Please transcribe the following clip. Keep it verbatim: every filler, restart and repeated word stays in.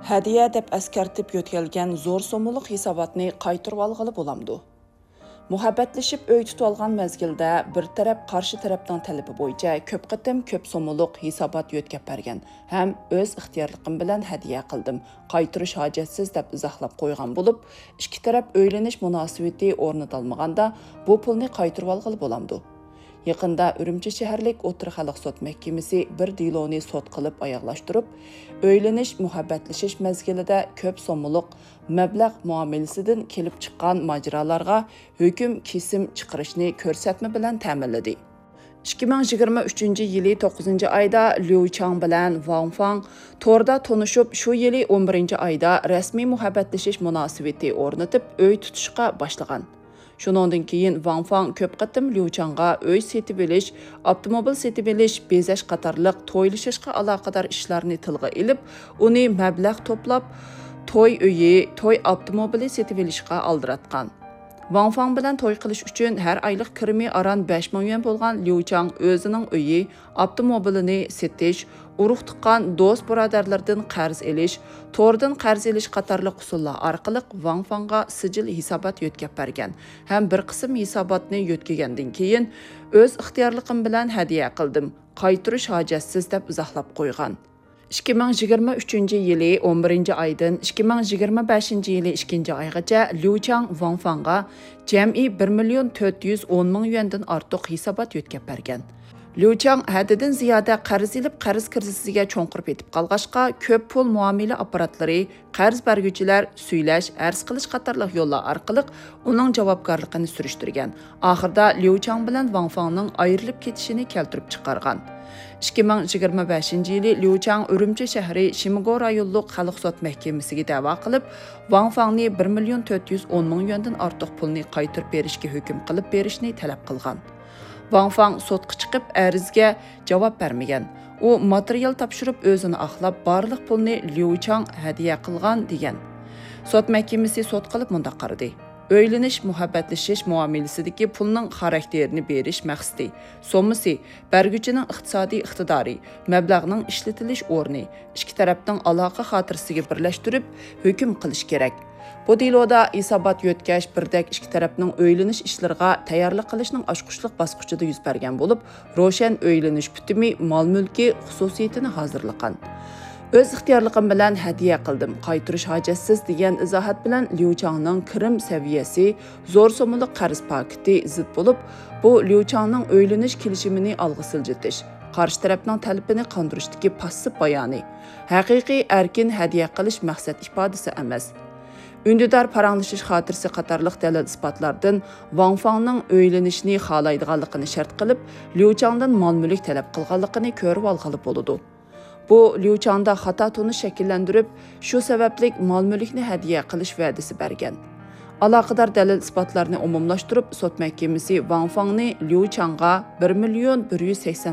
ھەدىيە دەپ ئەسكەرتىپ يۆتكەلگەن زور سوممىلىق ھېساباتنى قايتۇرۇۋالغىلى بولامدۇ؟ مۇھەببەتلىشىپ ئۆي تۇتۇۋالغان مەزگىلدە بىر تەرەپ قارشى تەرەپنىڭ تەلىپى بويىچە كۆپ قېتىم كۆپ سوممىلىق ھېسابات يۆتكەپ بەرگەن ھەم ئۆز ئىختىيارلىقىم بىلەن ھەدىيە قىلدىم، قايتۇرۇش ھاجەتسىز دەپ ئىزاھلاپ قويغان بولۇپ، ئىككى تەرەپ ئۆيلىنىش مۇناسىۋىتى ئورنىتالمىغاندا بۇ پۇلنى قايتۇرۇۋالغىلى بولامدۇ؟ يېقىندا ئۈرۈمچى شەھەرلىك ئوتتۇرا خەلق سوت مەھكىمىسى بىر دېلونى سوت قىلىپ ئاياغلاشتۇرۇپ، ئۆيلىنىش، مۇھەببەتلىشىش مەزگىلىدە كۆپ سوممىلىق مەبلەغ مۇئامىلىسىدىن كېلىپ چىققان ماجىرالارغا ھۆكۈم كېسىم چىقىرىشنى كۆرسەتمە بىلەن تەمىنلىدى. ئىككى مىڭ يىگىرمە ئۈچىنچى يىلى توققۇزىنچى ئايدا ليۇ چاڭ بىلەن ۋاڭ فاڭ توردا تونۇشۇپ، شۇ يىلى ئون بىرىنچى ئايدا رەسمىي مۇھەببەتلىشىش مۇناسىۋىتى ئورنىتىپ، ئۆي تۇتۇشقا باشلىغان. شۇنىڭدىن كېيىن ۋاڭ فاڭ كۆپ قېتىم ليۇ چاڭغا ئۆي سېتىۋېلىش، ئاپتوموبىل سېتىۋېلىش، بېزەش قاتارلىق تويلىشىشقا ئالاقىدار ئىشلارنى تىلغا ئېلىپ، ئۇنى مەبلەغ توپلاپ، توي ئۆيى، توي ئاپتوموبىلى سېتىۋېلىشقا ئالدىراتقان. ۋاڭ فاڭ بىلەن توي قىلىش ئۈچۈن ھەر ئايلىق كىرىمى ئاران بەش مىڭ يۈەن بولغان ليۇ چاڭ ئۆزىنىڭ ئۆيى، ئاپتوموبىلىنى سېتىش، ئۇرۇق-تۇغقان، دوست-بۇرادەرلىرىدىن قەرز ئېلىش، توردىن قەرز ئېلىش قاتارلىق ئۇسۇللار ئارقىلىق ۋاڭ فاڭغا سىجىل ھېسابات يۆتكەپ بەرگەن ھەم بىر قىسىم ھېساباتنى يۆتكىگەندىن كېيىن، ئۆز ئىختىيارلىقىم بىلەن ھەدىيە قىلدىم، قايتۇرۇش ھاجەتسىز دەپ ئىزاھلاپ قويغان. ئىككى مىڭ يىگىرمە ئۈچىنچى يىلى ئون بىرىنچى ئايدىن ئىككى مىڭ يىگىرمە بەشىنچى يىلى ئىككىنچى ئايغىچە ليۇ چاڭ ۋاڭ فاڭغا جەمئىي بىر مىليون تۆت يۈز ئون مىڭ يۈەندىن ئارتۇق ھېسابات يۆتكەپ بەرگەن. ليۇ چاڭ ھەددىدىن زىيادە قەرز ئېلىپ، قەرز كىرىزىسىگە چوڭقۇر پېتىپ قالغاچقا، كۆپ پۇل مۇئامىلە ئاپپاراتلىرى، قەرز بەرگۈچىلەر، سۈيلەش، ئەرز قىلىش قاتارلىق يوللار ئارقىلىق ئۇنىڭ جاۋابكارلىقىنى سۈرۈشتۈرگەن. ئاخىرىدا ليۇ چاڭ بىلەن ۋاڭ فاڭنىڭ ئايرىلىپ كېتىشىنى كەلتۈرۈپ چىقارغان. ئىككى مىڭ يىگىرمە بەشىنچى يىلى ليۇ چاڭ ئۈرۈمچى شەھىرى شىمگو رايونلۇق خەلق سوت مەھكىمىسىگە دەۋا قىلىپ، ۋاڭ فاڭنى بىر مىليون تۆت يۈز ئون مىڭ يۈەندىن ئارتۇق پۇلنى قايتۇرۇپ بېرىشكە ھۆكۈم قىلىپ بېرىشنى تەلەپ قىلغان. ۋاڭ فاڭ سوتقا چىقىپ، ئەرزگە جاۋاب بەرمىگەن. ئۇ ماتېرىيال تاپشۇرۇپ، ئۆزىنى ئاقلاپ، بارلىق پۇلنى ليۇ چاڭ ھەدىيە قىلغان، دېگەن. سوت مەھكىمىسى سوت قىلىپ مۇنداق قارىدى: ئۆيلىنىش، مۇھەببەتلىشىش مۇئامىلىسىدىكى پۇلنىڭ خاراكتېرىنى بېرىش مەقسىتى، سوممىسى، بەرگۈچىنىڭ ئىقتىسادىي ئىقتىدارى، مەبلەغنىڭ ئىشلىتىلىش ئورنى، ئىككى تەرەپنىڭ ئالاقە خاتىرىسىگە بىرلەشتۈرۈپ ھۆكۈم قىلىش كېرەك. بۇ دېلودا ھېسابات يۆتكەش بىردەك ئىككى تەرەپنىڭ ئۆيلىنىش ئىشلىرىغا تەييارلىق قىلىشنىڭ ئاچقۇچلۇق باسقۇچىدا يۈز بەرگەن بولۇپ، روشەن ئۆيلىنىش پۈتۈمى مال-مۈلكى خۇسۇسىيىتىنى ھازىرلىغان. ئۆز ئىختىيارلىقىم بىلەن ھەدىيە قىلدىم، قايتۇرۇش ھاجەتسىز، دېگەن ئىزاھات بىلەن ليۇ چاڭنىڭ كىرىم سەۋىيەسى زور سوممىلىق قەرز پاكىتى زىت بولۇپ، بۇ ليۇ چاڭنىڭ ئۆيلىنىش كېلىشىمىنى ئالغا سىلجىتىش، قارشى تەرەپنىڭ تەلىپىنى قاندۇرۇشتىكى پاسسىپ بايانى. ھەقىقىي ئەركىن ھەدىيە قىلىش مەقسەت ئىپادىسى ئەمەس. ئۈندىدار پاراڭلىشىش خاتىرىسى قاتارلىق دەلىل-ئىسپاتلاردىن ۋاڭ فاڭنىڭ ئۆيلىنىشنى خالايدىغانلىقىنى شەرت قىلىپ، ليۇ چاڭدىن مال-مۈلۈك تەلەپ قىلغانلىقىنى كۆرۈۋالغىلى بولىدۇ. بۇ ليۇ چاڭدا خاتا تونۇش شەكىللەندۈرۈپ، شۇ سەۋەبلىك مال-مۈلۈكنى ھەدىيە قىلىش ۋەدىسى بەرگەن. ئالاقىدار دەلىل-ئىسپاتلارنى ئومۇملاشتۇرۇپ، سوت مەھكىمىسى ۋاڭ فاڭنى ليۇ چاڭغا بىر مىليون بىر يۈز سەكسەن